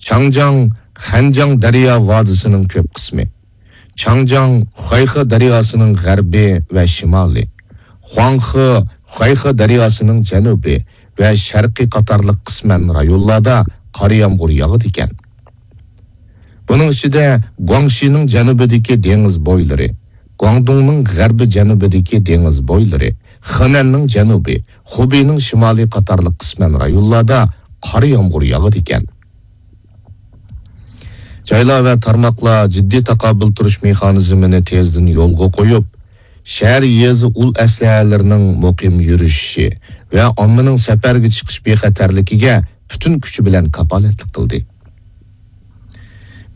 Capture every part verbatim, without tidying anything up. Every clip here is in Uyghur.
چاڭجياڭ خەنجياڭ دەريا ۋادىسىنىڭ كۆپ قىسمى، چاڭجياڭ خۇەيخې دەرياسىنىڭ غەربى ۋە شىمالى، خۇاڭخې خۇەيخې دەرياسىنىڭ جەنۇبى ۋە شەرقى قاتارلىق قىسمەن رايونلاردا قار يامغۇر ياغىدىكەن. بۇنىڭ ئىچىدە گۇاڭشىنىڭ جەنۇبىدىكى دېڭىز بويلىرى، گۇاڭدۇڭنىڭ غەربىي جەنۇبىدىكى دېڭىز بويلىرى، خېنەننىڭ جەنۇبى، خۇبېينىڭ شىمالى قاتارلىق قىسمەن رايونلاردا قار يامغۇر ياغىدىكەن. جايلار ۋە تارماقلار جىددىي تاقابىل تۇرۇش مېخانىزمىنى تېزدىن يولغا قويۇپ، شەھەر يېزا ئۇل ئەسلىھەلىرىنىڭ مۇقىم يۈرۈشۈشى ۋە ئاممىنىڭ سەپەرگە چىقىش بىخەتەرلىكىگە پۈتۈن كۈچى بىلەن كاپالەتلىك قىلدى.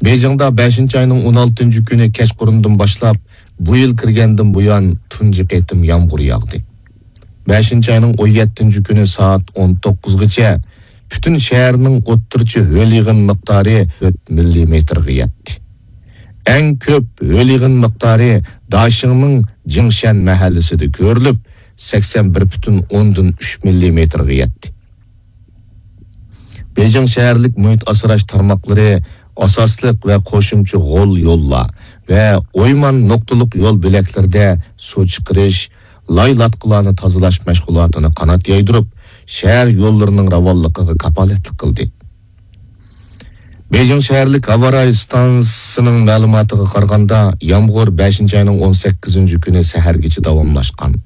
بېيجىڭدا بەشىنچى ئاينىڭ ئون ئالتىنچى كۈنى كەچقۇرۇندىن باشلاپ، بۇ يىل كىرگەندىن بۇيان تۇنجى قېتىم يامغۇر ياغدى. بەشىنچى ئاينىڭ ئون يەتتىنچى كۈنى سائەت ئون توققۇزغىچە پۈتۈن شەھەرنىڭ ئوتتۇرىچە ھۆل يېغىن مىقدارى تۆت مىللىمېتىرغا يەتتى. ئەڭ كۆپ ھۆل يېغىن مىقدارى داشىڭنىڭ جىڭشەن مەھەللىسىدە كۆرۈلۈپ، سەكسەن بىر پۈتۈن ئوندىن ئۈچ مىللىمېتىرغا يەتتى. بېيجىڭ شەھەرلىك مۇھىت ئاسراش تارماقلىرى ئاساسلىق ۋە قوشۇمچە غول يوللار ۋە ئويمان نۇقتىلىق يول بۆلەكلىرىدە سۇ چىقىرىش، لاي لاتقىلارنى تازىلاش مەشغۇلاتىنى قانات يايدۇرۇپ، شەھەر يوللىرىنىڭ راۋانلىقىغا كاپالەتلىك قىلدى. بېيجىڭ شەھەرلىك ھاۋا رايى ئىستانسىسىنىڭ مەلۇماتىغا قارىغاندا، يامغۇر بەشىنچى ئاينىڭ ئون سەككىزىنچى كۈنى سەھەرگىچە داۋاملاشقان.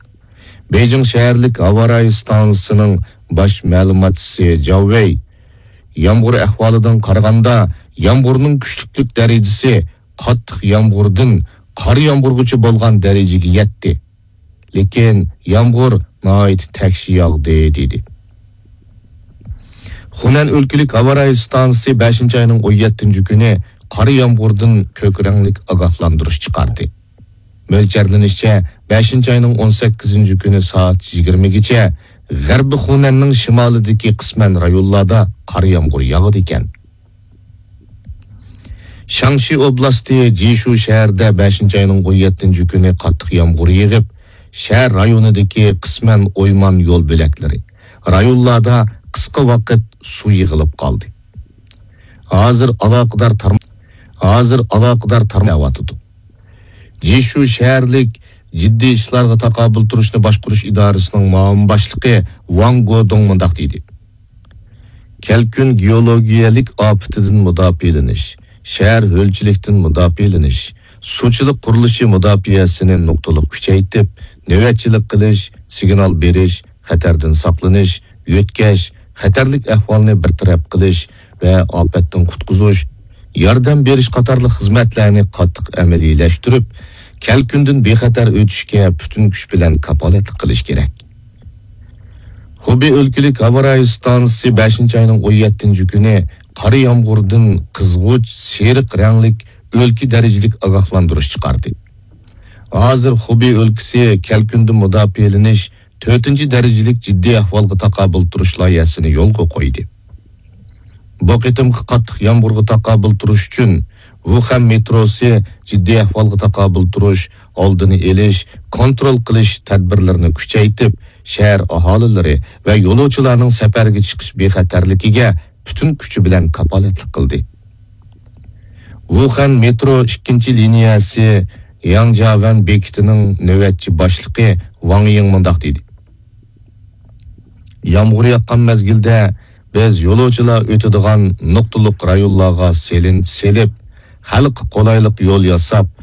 بېيجىڭ شەھەرلىك ھاۋا رايى ئىستانسىسىنىڭ باش مەلۇماتچىسى جاۋ ۋېي يامغۇر ئەھۋالىدىن قارىغاندا، يامغۇرنىڭ كۈچلۈكلۈك دەرىجىسى قاتتىق يامغۇردىن قارا يامغۇرغىچە بولغان دەرىجىگە يەتتى. لېكىن يامغۇر ناھايىتى تەكشى ياغدى، دېدى. خۇنەن ئۆلكىلىك ھاۋا رايى ئىستانسىسى بەشىنچى ئاينىڭ ئون يەتتىنچى كۈنى قارا يامغۇردىن كۆك رەڭلىك ئاگاھلاندۇرۇش چىقاردى. مۆلچەرلىنىشىچە، بەشىنچى ئاينىڭ ئون سەككىزىنچى كۈنى سائەت يىگىرمىگىچە غەربىي خۇنەننىڭ شىمالىدىكى قىسمەن رايونلاردا قارا يامغۇر ياغىدىكەن. شاڭشى ئوبلاستى جىشۇ شەھىرىدە بەشىنچى ئاينىڭ ئون يەتتىنچى كۈنى قاتتىق يامغۇر يېغىپ، شەھەر رايونىدىكى قىسمەن ئويمان يول بۆلەكلىرى، رايونلاردا قىسقا ۋاقىت سۇ يىغىلىپ قالدى. ھازىر ئالاقىدار تارم-، ھازىر ئالاقىدار تارماق ئىشلەۋاتىدۇ. جىشۇ شەھەرلىك جىددىي ئىشلارغا تاقابىل تۇرۇشنى باشقۇرۇش ئىدارىسىنىڭ مۇئاۋىن باشلىقى ۋاڭ گودۇڭ مۇنداق دېدى: كەلكۈن گېئولوگىيەلىك ئاپىتىدىن مۇداپىئەلىنىش، شەھەر ھۆلچىلىكتىن مۇداپىئەلىنىش، سۇچىلىق قۇرۇلۇشى مۇداپىئەسىنى نۇقتىلىق كۈچەيتىپ، نۆۋەتچىلىك قىلىش، سىگنال بېرىش، خەتەردىن ساقلىنىش، يۆتكەش، خەتەرلىك ئەھۋالنى بىر تەرەپ قىلىش ۋە ئاپەتتىن قۇتقۇزۇش، ياردەم بېرىش قاتارلىق خىزمەتلەرنى قاتتىق ئەمەلىيلەشتۈرۈپ، كەلكۈندىن بىخەتەر ئۆتۈشكە پۈتۈن كۈچ بىلەن كاپالەتلىك قىلىش كېرەك. خۇبېي ئۆلكىلىك ھاۋا رايى ئىستانسىسى بەشىنچى ئاينىڭ ئون يەتتىنچى كۈنى قارا يامغۇردىن قىزغۇچ سېرىق رەڭلىك ئۆلكە دەرىجىلىك ئاگاھلاندۇرۇش چىقاردى. ھازىر خۇبېي ئۆلكىسى كەلكۈندىن مۇداپىئەلىنىش تۆتىنچى دەرىجىلىك جىددىي ئەھۋالغا تاقابىل تۇرۇش لايىھەسىنى يولغا قويدى. بۇ قېتىمقى قاتتىق يامغۇرغا تاقابىل تۇرۇش ئۈچۈن، ۋۇخەن مېتروسى جىددىي ئەھۋالغا تاقابىل تۇرۇش، ئالدىنى ئېلىش، كونترول قىلىش تەدبىرلىرىنى كۈچەيتىپ، شەھەر ئاھالىلىرى ۋە يولۇچىلارنىڭ سەپەرگە چىقىش بىخەتەرلىكىگە پۈتۈن كۈچى بىلەن كاپالەتلىك قىلدى. ۋۇخەن مېترو ئىككىنچى لىنىيەسى ياڭجياۋەن بېكىتىنىڭ نۆۋەتچى باشلىقى ۋاڭ يىڭ مۇنداق دېدى: يامغۇر ياغقان مەزگىلدە بىز يولۇچىلار ئۆتىدىغان نۇقتىلىق رايونلارغا سېلىن سېلىپ، خەلققە قولايلىق يول ياساپ،